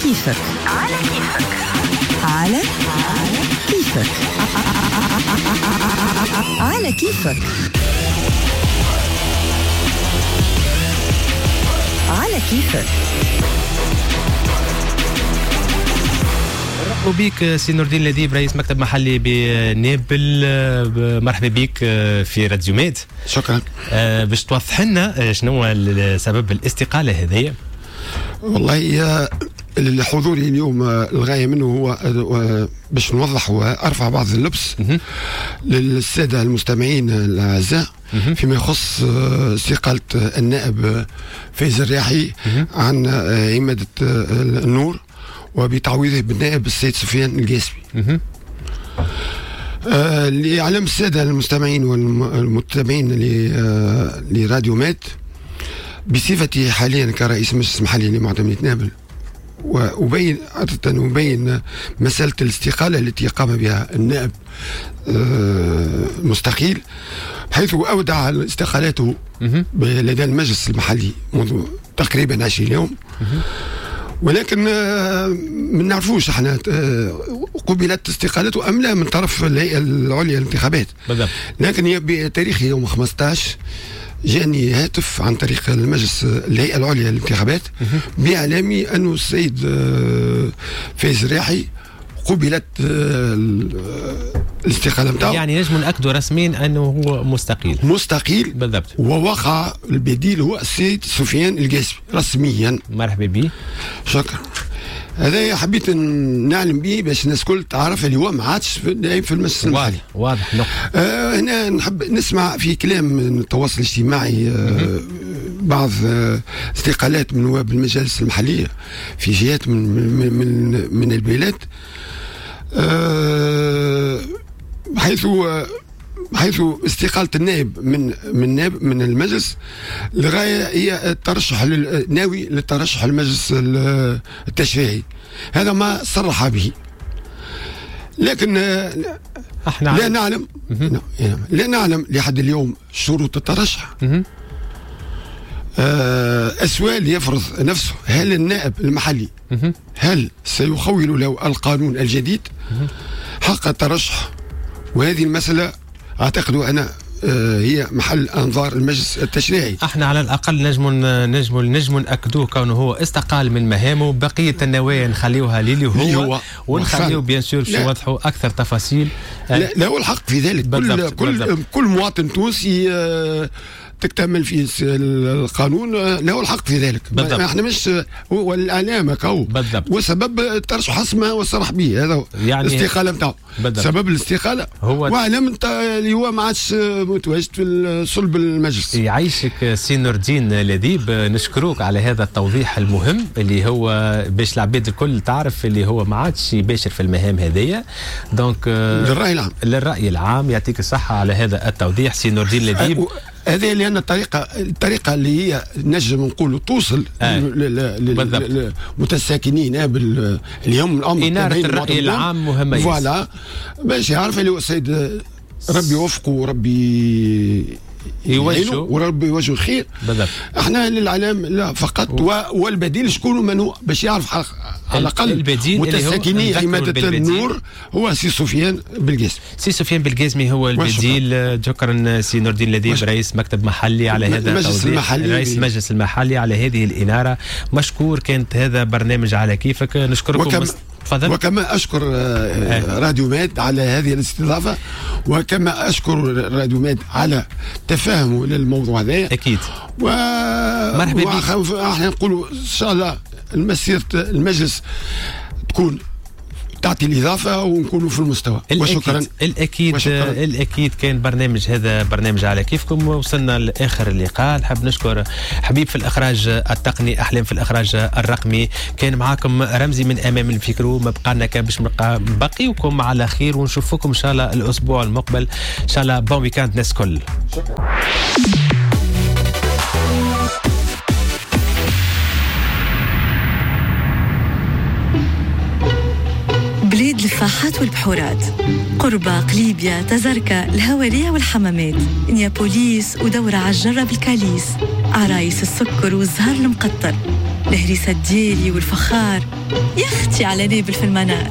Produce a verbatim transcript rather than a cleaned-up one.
كيفك. على كيفك. على كيفك. على كيفك. على كيفك. مرحبا بك سي نور الدين لذيب، رئيس مكتب محلي بنابل. مرحبا بك في راديو ميد. شكرا. باش توضح لنا شنو هو سبب الاستقالة هذه. والله حضوري اليوم الغاية منه هو باش نوضح وارفع بعض اللبس للسادة المستمعين الاعزاء فيما يخص استقالة النائب فايز الرياحي عن عماده النور وبتعويضه بالنائب السيد سفيان القاسمي. آه لإعلام السادة المستمعين والمتابعين لراديو مات، بصفتي حاليا كرئيس مجلس محلي لمعتمدية نابل، وأبين عادة أبين مسألة الاستقالة التي قام بها النائب المستقيل، حيث أودع استقالته لدى المجلس المحلي منذ تقريبا عشرين يوم، ولكن ما نعرفوش احنا قبلت استقالته ام لا من طرف الهيئة العليا للانتخابات. بالضبط. لكن هي بتاريخ يوم خمسطاش جاني هاتف عن طريق المجلس الهيئة العليا للانتخابات باعلامي انه السيد فايز الرياحي قبلت الاستقالة نتاعو. يعني نجم ناكدوا رسميا انه هو مستقيل. مستقيل بالضبط. ووقع البديل هو السيد سفيان القاسمي رسميا. مرحبا به. شكرا. هذا حبيت نعلم به باش الناس الكل تعرف اللي هو ما عادش في المجلس المحلي. واضح. آه هنا نحب نسمع في كلام من التواصل الاجتماعي آه بعض آه استقالات من نواب المجالس المحلية في جهات من من من, من البلاد، أه حيث حيث استقالة النائب من من نائب من المجلس لغاية هي الترشح ناوي للترشح المجلس التشريعي، هذا ما صرح به. لكن احنا لا نعلم لا نعلم لحد اليوم شروط الترشح. أه السؤال يفرض نفسه، هل النائب المحلي هل سيخول له القانون الجديد حق الترشح؟ وهذه المسألة أعتقد أنا هي محل أنظار المجلس التشريعي. احنا على الأقل نجم نجم نجم نأكدوه كونه هو استقال من مهامه، بقية النوايا نخليوها للي هو, هو ونخليو bien sûr باش يوضحوا أكثر تفاصيل. لا له الحق في ذلك. كل كل كل مواطن تونسي تكتمل فيه القانون له الحق في ذلك. بالضبط. احنا مش هو الاعلام هكاو. بالضبط. وسبب الترشح اسمه وصرح به، هذا يعني الاستقالة نتاعو. سبب الاستقالة هو واعلام اللي هو ما عادش متواجد في صلب المجلس. يعيشك سي نور الدين لذيب، نشكروك على هذا التوضيح المهم اللي هو باش العباد الكل تعرف اللي هو ما عادش يباشر في المهام هذيا. donc للراي العام. للراي العام. يعطيك الصحة على هذا التوضيح سي نور الدين لذيب. هذه لأن الطريقة الطريقة اللي هي نجم نقولوا توصل آه. للمتساكنين اليوم الأمر إنارة الرأي العام مهمة. voilà باش يعرف اللي هو السيد ربي يوفقه وربي يوجهه وربي يوجهه الخير. بالضبط. احنا للإعلام لا فقط و... والبديل شكون من هو باش يعرف على الاقل متساكني عمادة النور هو سي سفيان بالقاسمي. سي سفيان بالقاسمي هو البديل. شكرا سي نور الدين لذيب رئيس مكتب محلي على هذا المجلس المحلي، رئيس المجلس المحلي على هذه الإنارة. مشكور. كانت هذا برنامج على كيفك. نشكركم. وكم فضل. وكما أشكر راديو ماد على هذه الاستضافة، وكما أشكر راديو ماد على تفاهمه للموضوع هذا. أكيد. و... مرحبا بك. احنا نقولوا إن شاء الله المسيرة المجلس تكون تعطي الإضافة ونكونوا في المستوى. وشكرا. الأكيد. وشكرا. الأكيد كان برنامج هذا برنامج على كيفكم. وصلنا لآخر اللقاء. نحب نشكر حبيب في الإخراج التقني، أحلام في الإخراج الرقمي، كان معاكم رمزي من أمام الفيكرو. ما بقى لنا كان باش نبقيكم على خير ونشوفكم إن شاء الله الأسبوع المقبل. إن شاء الله bon week-end ناس كل. شكرا. بلاد الفاحات والبحورات، قربة، قليبيا، تزركة، الهوارية والحمامات، نيابوليس ودورة عالجرة بالكاليس، عرايس السكر والزهر المقطر. الهريسة الدياري والفخار، يا اختي على نابل في المنار.